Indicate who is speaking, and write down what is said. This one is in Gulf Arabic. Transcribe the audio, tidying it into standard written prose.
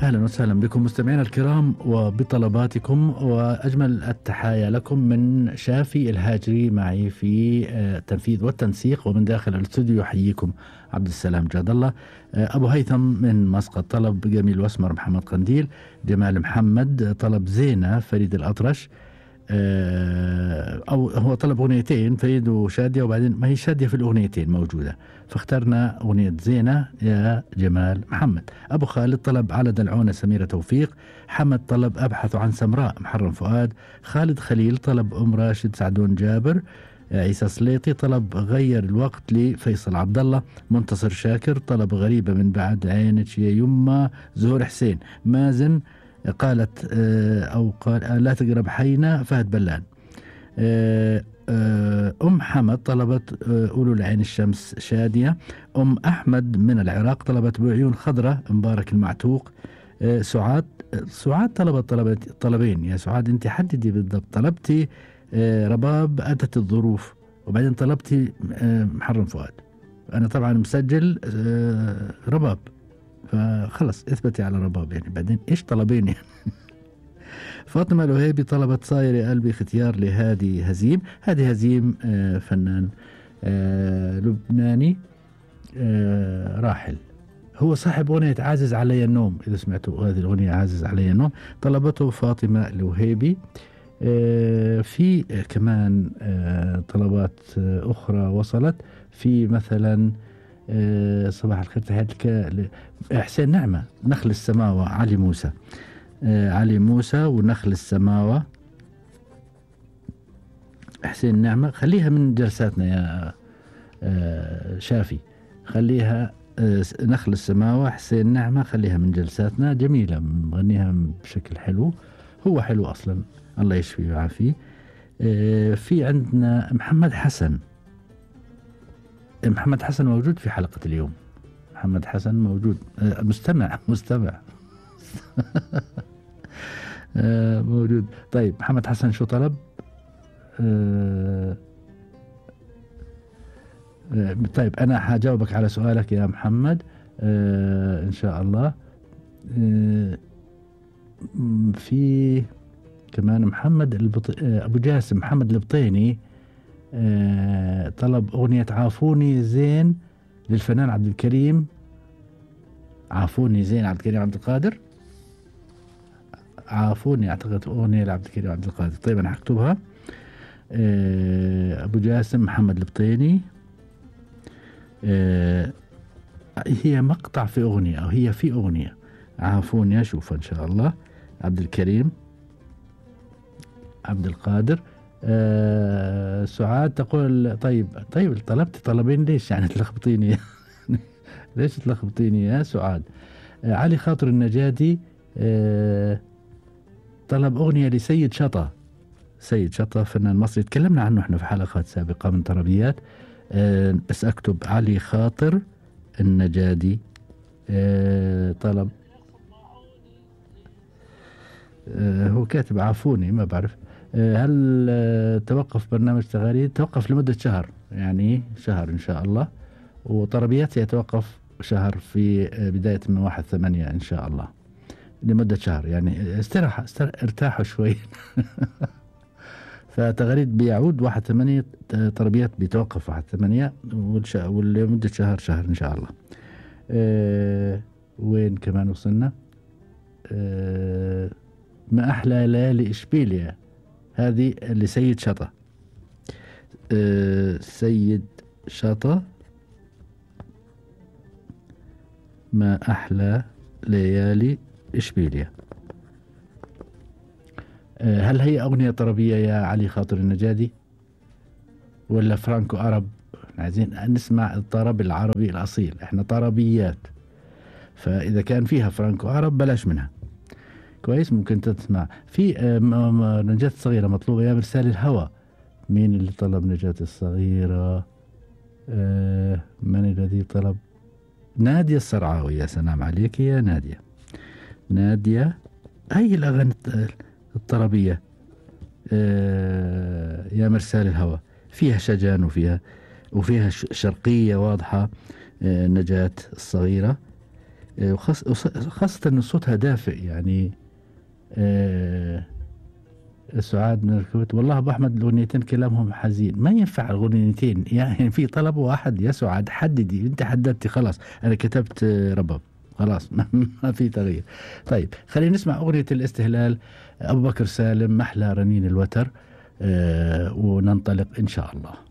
Speaker 1: أهلا وسهلا بكم مستمعينا الكرام وبطلباتكم، وأجمل التحايا لكم من شافي الهاجري معي في التنفيذ والتنسيق، ومن داخل الاستوديو يحييكم عبد السلام جاد الله. أبو هيثم من مسقط طلب جميل واسمر محمد قنديل. جمال محمد طلب زينة فريد الأطرش، أو هو طلب أغنيتين فريد وشادية، وبعدين ما هي شادية في الأغنيتين موجودة، فاخترنا أغنية زينة يا جمال محمد. أبو خالد طلب على دلعونة سميرة توفيق. حمد طلب أبحث عن سمراء محرم فؤاد. خالد خليل طلب أم راشد سعدون جابر. عيسى سليطي طلب غير الوقت لفيصل عبد الله. منتصر شاكر طلب غريبة من بعد عينك يا يما. زهور حسين. مازن قالت أو قال لا تقرب حينا فهد بلان. أم حمد طلبت أولو العين الشمس شادية. أم أحمد من العراق طلبت بعيون خضرة مبارك المعتوق. سعاد طلبت طلبين يا سعاد، أنت حددي بالضبط. طلبتي رباب أتت الظروف، وبعدين طلبتي محرم فؤاد. أنا طبعا مسجل رباب، فخلص اثبتي على رباب يعني، بعدين ايش طلبين يعني. فاطمة الوهيبي طلبت صاير يا قلبي ختيار لهادي هزيم. هادي هزيم فنان لبناني راحل، هو صاحب أغنية عازز علي النوم، إذا سمعتوا هذه الأغنية عازز علي النوم طلبته فاطمة الوهيبي. في كمان طلبات أخرى وصلت، في مثلا صباح الخير تحياتك حسين نعمة نخل السماوة. علي موسى علي موسى ونخل السماوة. حسين نعمة خليها من جلساتنا يا شافي، خليها نخل السماوة. حسين نعمة خليها من جلساتنا، جميلة مغنيها بشكل حلو، هو حلو أصلا الله يشفيه ويعافيه. في عندنا محمد حسن. محمد حسن موجود في حلقة اليوم. محمد حسن موجود، مستمع موجود. طيب محمد حسن شو طلب؟ طيب أنا حجاوبك على سؤالك يا محمد إن شاء الله. في كمان محمد أبو جاسم محمد البطيني طلب أغنية عافوني زين للفنان عبد الكريم. عافوني زين عبد الكريم عبد القادر، عافوني أعتقد أغنية لعبد الكريم عبد القادر. طيب أنا حكتبها. أبو جاسم محمد البطيني. هي مقطع في أغنية أو هي في أغنية. عافوني أشوفها إن شاء الله. عبد الكريم عبد القادر. سعاد تقول طيب طلبت طلبين ليش يعني تلخبطيني ليش تلخبطيني يا سعاد. علي خاطر النجادي طلب أغنية لسيد شطة. سيد شطة فنان مصري تكلمنا عنه احنا في حلقات سابقة من طربيات. بس اكتب علي خاطر النجادي طلب. هو كاتب عافوني ما بعرف. هل توقف برنامج تغاريد؟ توقف لمدة شهر، يعني شهر إن شاء الله، وطربيات سيتوقف شهر في بداية من 1/8 إن شاء الله، لمدة شهر يعني ارتاحوا شوي. فتغريد بيعود 1/8، طربيات بيتوقف 1/8 ولمدة شهر إن شاء الله. وين كمان وصلنا؟ ما أحلى ليالي إشبيليا، هذه لسيد شطة. سيد شطة ما أحلى ليالي إشبيليا. هل هي أغنية طربية يا علي خاطر النجادي ولا فرانكو عرب؟ عايزين نسمع الطرب العربي الأصيل، احنا طربيات، فإذا كان فيها فرانكو عرب بلاش منها. كويس، ممكن تسمع في نجاة الصغيرة مطلوبة يا مرسال الهوى. مين اللي طلب نجاة الصغيرة؟ من الذي طلب؟ نادية الصرعاوي. يا سلام عليك يا نادية. نادية هي الأغاني الطربية. يا مرسال الهوى فيها شجن وفيها شرقية واضحة. نجاة الصغيرة. خاصة أن صوتها دافئ يعني. سعاد من الكويت، والله أبو أحمد الأغنيتين كلامهم حزين، ما ينفع الأغنيتين يعني في طلب واحد يا سعاد، حددي، أنت حددتي خلاص، أنا كتبت رباب خلاص ما في تغيير. طيب خلينا نسمع أغنية الاستهلال، أبو بكر سالم، محلى رنين الوتر، وننطلق إن شاء الله.